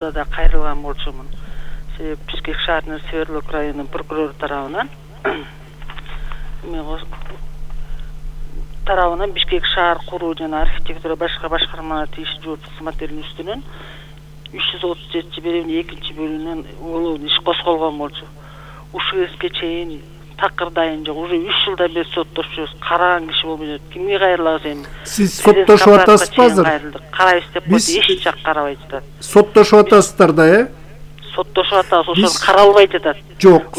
да кайрылган болчумун. Себеп Бишкек шаарынын Свердловск районунун прокурору тарабынан Бишкек шаар куруу жана архитектура башка башкармалар тийиштүү жооптук кызматтердин үстүнөн 337 берүүнүн 2-бөлүгүнөн улуу иш козголгон болчу. Ушул эске чейин такырдайын жок, уже 3 жылдан бери соттошубуз, караган киши болбой. Кимге кайрылабыз эми? Сиз соттошуп атасызбы азыр? Карайбыз деп койду, эч жак карабай жатат. Соттошуп атасыздар да, Соттошуп атабыз, ошол каралбай жатат. Жок,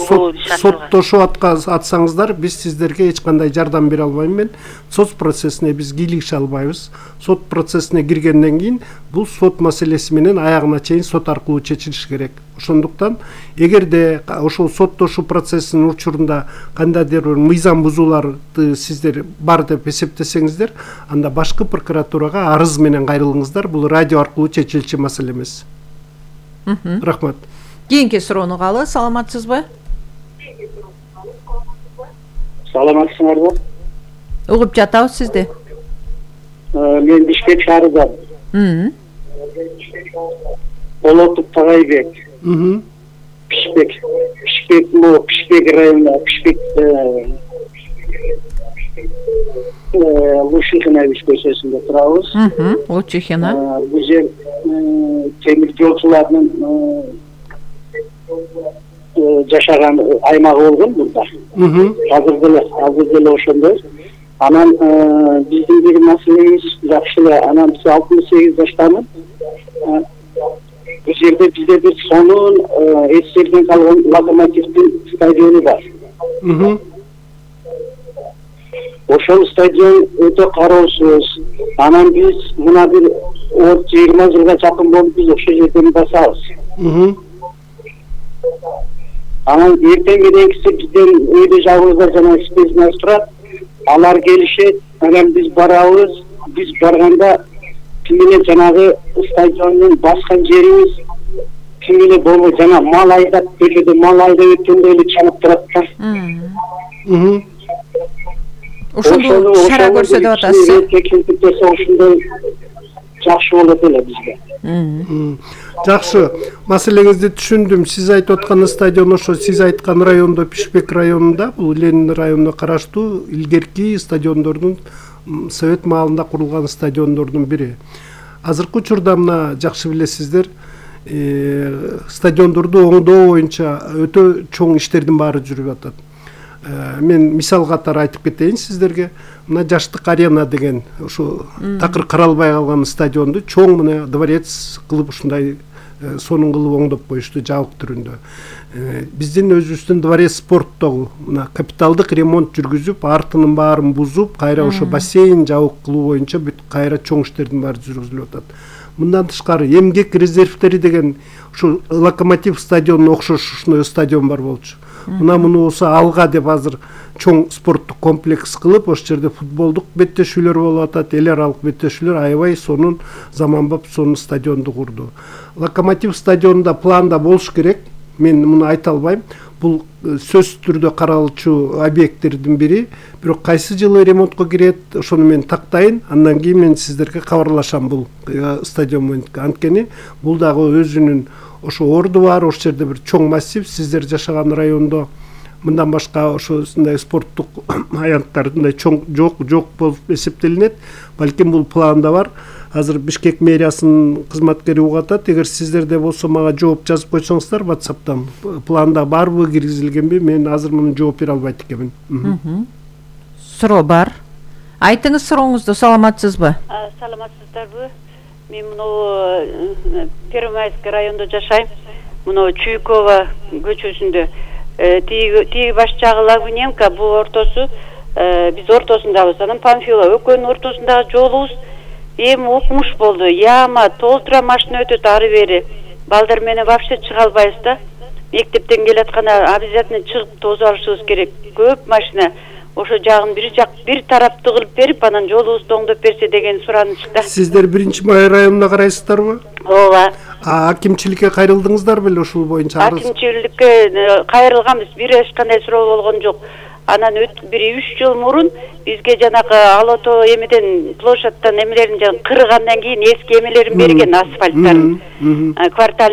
соттошуп атсаңыздар, биз сиздерге эч кандай жардам бере албайм мен. Сот процессине биз кийлигише албайбыз. Сот процессине киргенден кийин бул сот маселеси менен аягына чейин сот аркылуу чечилиши керек. Ошондуктан эгерде ошол соттошуу процессинин учурунда кандайдыр бир мыйзам бузууларды сиздер бар деп эсептесеңиздер, анда башкы прокуратурага арыз менен кайрылыңыздар. Бул радио аркылуу чечилчү маселе эмес. Рахмат. Кийинки суроону калы, саламатсызбы? Саламатсыңарбы? Угуп жатабыз сизди. Мен Бишкек шаарынан. Болотов Тагайбек. Бишкек районунда Лучихина көчөсүндө турабыз. Лучихина. Бул жер темир жолчулардын жашаган аймагы болгон мында. Азыр деле ошондой. Анан биздин бир маселебиз жакшы эле. Анан биз 68 жаштамын. Бул жерде бизде бир сонун эсерден калган локомотивдин стадиону бар. Ошол стадион өтө кароосуз. Анан биз мына бир 20 жылга жакын болуп биз ошол жерден басабыз. Анан эртең мененкиси бизден өйдө жабырда жана спецназ турат. Алар келишет, анан биз барабыз. Биз барганда ким эле жанагы стадиондун баскан жерибиз ким эле болбой жана мал айдап, бөлөдө мал айдап өткөндө эле чалып турат да. Ошондо шара көрсөтүп атасыз. Ошондой жакшы болот эле бизге. Жакшы, маселеңизди түшүндүм. Сиз айтып аткан стадион ошо сиз айткан райондо, Бишкек районунда, бул Ленин районуна караштуу илгерки стадиондордун совет маалында курулган стадиондордун бири. Азыркы учурда мына жакшы билесиздер, стадиондорду оңдоо боюнча өтө чоң иштердин баары жүрүп атат. Мен мисал катары айтып кетейин сиздерге. Мына Жаштык арена деген ошо такыр каралбай калган стадионду чоң мына дворец кылып ушундай сонун кылып оңдоп коюшту жабык түрүндө. Биздин өзүбүздүн дворец спорттогу мына капиталдык ремонт жүргүзүп, артынын баарын бузуп, кайра ошо бассейн жабык кылуу боюнча бүт кайра чоң иштердин баары жүргүзүлүп атат. Мындан тышкары эмгек резервтери деген ушу Локомотив стадионуна окшош ушундай стадион бар болчу. Мына муну болсо Алга деп азыр чоң спорттук комплекс кылып, ошол жерде футболдук беттешүүлөр болуп атат, эл аралык беттешүүлөр аябай сонун заманбап сонун стадионду курду. Локомотив стадионунда планда болуш керек. Мен муну айта албайм. Бул сөзсүз түрдө каралчу объекттердин бири. Бирок кайсы жылы ремонтко кирет, ошону мен тактайын. Андан кийин мен сиздерге кабарлашам бул стадион менен. Анткени бул дагы өзүнүн ошо орду бар, ошол жерде бир чоң массив, сиздер жашаган райондо мындан башка ошосундай спорттук аянттар мындай чоң жок болуп эсептелинет. Балким бул планда бар. Азыр Бишкек мэриясынын кызматкери угуп атат. Эгер сиздерде болсо мага жооп жазып койсоңуздар WhatsApp'тан. Планда барбы, киргизилгенби? Мен азыр муну жооп бере албайт экенмин. Суроо бар. Айтыңыз сурооңузду, саламатсызбы? Саламатсыздарбы? Мен муну Первомайский районунда жашайм. Муну Чуйкова көчөсүндө. Тиги баш жагы Лагуненко, бул ортосу биз ортосундабыз. Анан Памфилова экөөнүн ортосундагы жолубуз эми укмуш болду. Яма толтура машина өтөт ары бери. Балдар менен вообще чыга албайбыз да. Мектептен келатканда обязательно чыгып тозуп алышыбыз керек. Көп машина. Ошо жагын бир тарапты кылып берип, анан жолубузду оңдоп берсе деген суранычта. Сиздер 1-Май районуна карайсыздарбы? Ооба. Акимчиликке кайрылдыңыздар беле ушул боюнча? Акимчиликке кайрылганбыз, бир эч кандай суроо болгон жок. анан бир 3 жыл мурун бизге жанагы Ала Тоо эмеден площадьтан эмелерин кыргандан кийин эски эмелерин берген асфальттарын, квартальный